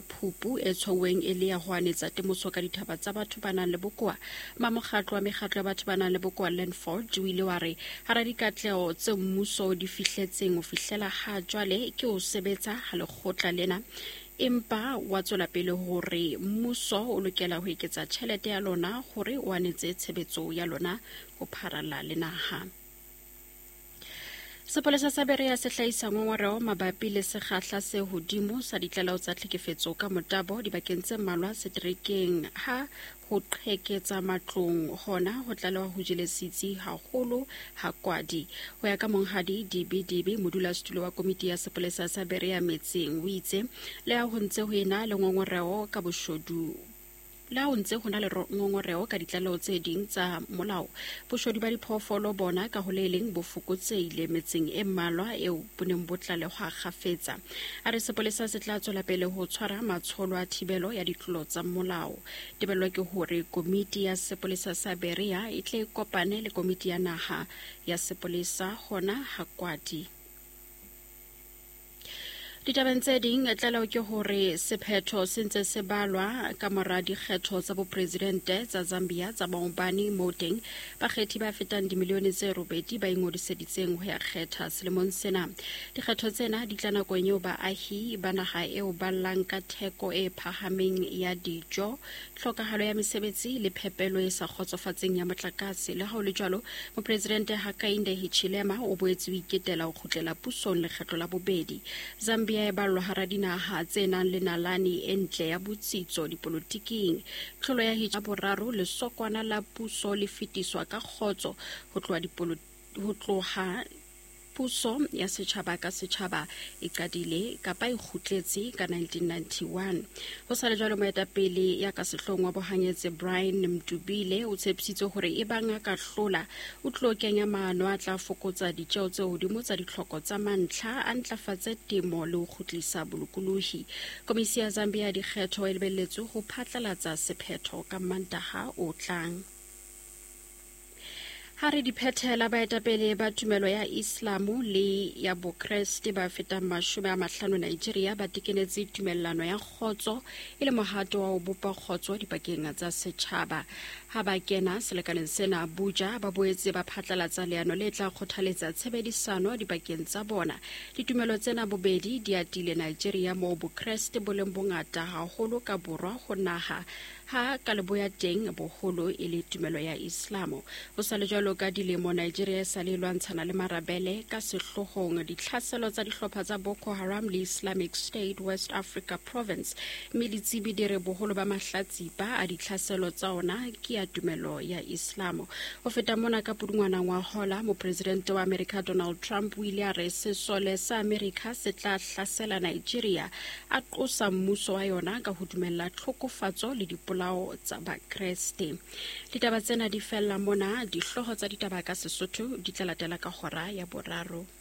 Phupu e tshwauweng e le ya ho anetsa temoso ka dithaba tsa batho ba nang le bokowa. Mamokgatlo wa mekgatlo ya batho ba nang le bokowa Landford o ile wa re hara dikatleho tse mmuso o di fihletseng ho fihlela ha jwale ke ho sebetsa ha lekgotla lena, empa wa tswela pele hore mmuso o lokela ho eketsa tjhelete ya lona hore o anetse tshebetso ya lona ho pharalla le naha. Sepolesa sa Berea se hlahisa ngongoreho mabapi le sekgahla se hodimo sa ditlaleho tsa tlhekefetso ka motabo dibakeng tse mmalwa seterekeng ha ho qheketsa matlong hona ho tlalewa ho jele setsi haholo ha kwadi. Ho ya ka monghadi Dibi Dibi, modulasetulo wa komiti ya sepolesa sa Berea metseng, o itse le ha ho ntse ho ena le ngongoreho ka boshodu Le ha ho ntse ho na le ngongoreho ka ditlaleho tse ding tsa molao, boshodu ba diphoofolo bona ka ho le leng bo fokotsehile metseng e mmalwa eo bo neng bo tlalehwa kgafetsa. A re sepolesa se tla tswela pele ho tshwara matsholo a thibelo ya ditlolo tsa molao. Tebello ke hore komiti ya sepolesa sa Berea e tle e kopane le komiti ya naha ya sepolesa hona ha Kwadi. Ditabeng tse ding, tlaleho ke hore sephetho se ntse se balwa ka mora dikgetho tsa bopresidente tsa Zambia tsa maobane, moo teng bakgethi ba fetang dimilione tse robedi ba ingodiseditseng ho ya kgetha selemong sena. Dikgetho tsena di tla nakong eo baahi ba naha eo ba llang ka theko e phahameng ya dijo, tlhokahalo ya mesebetsi le phepelo e sa kgotsofatseng ya motlakase. Le ha ho le jwalo, Mopresidente Hakainde Hichilema o boetse o iketela ho kgutlela pusong lekgetlo la bobedi. Zambia e ballwa hara dinaha tse nang le nalane e ntle ya botsitso dipolotiking. Tlholo ya Hichilema boraro lesokwana la puso le fetiswa ka kgotso ho tloha ho tloha Puso ya setjhaba ka setjhaba e qadile kapa e kgutletse ka 1991. Ho sa le jwalo, moetapele ya ka sehloohong wa bohanyetse Brian Mdubile o tshepisitse hore ebang a ka hlola, o tlo kenya maano a tla fokotsa ditjeo tse hodimo tsa ditlhoko tsa mantlha, a ntlafatse temo le ho kgutlisa bolokolohi. Komisi ya Zambia ya dikgetho e lebelletswe ho phatlalatsa sephetho ka Mantaha o tlang. Ha re di phethela, baetapele ba tumelo ya Islamo le ya Bokreste ba fetang 50 Nigeria ba tekenetse tumellano ya kgotso e le mohato wa ho bopa kgotso dipakeng tsa setjhaba. Ha ba kena selekaneng sena Abuja, ba boetse ba phatlalatsa leano le tla kgothaletsa tshebedisano dipakeng tsa bona. Ditumelo tsena bobedi di atile Nigeria moo Bokreste bo leng bongata haholo ka borwa ho naha, ha ka leboya teng boholo e le tumelo ya Islamo. Ho sa le jwalo, ka dilemo Nigeria e sa le lwantshana le marabele, ka sehloohong ditlhaselo tsa dihlopha tsa Boko Haram le Islamic State West Africa Province, mme ditsebi di re boholo ba mahlatsipa a ditlhaselo tsa ona ke ya tumelo ya Islamo. Ho feta mona, ka Pudungwana ngwahola, mopresidente wa Amerika Donald Trump o ile a re sesole sa Amerika se tla hlasela Nigeria, a qosa mmuso wa yona ka ho dumella tlhokofatso le dipolao tsa Bakreste. Ditaba tsena di fella mona. Dihlooho tsa ditaba ka Sesotho di tla latela ka hora ya boraro.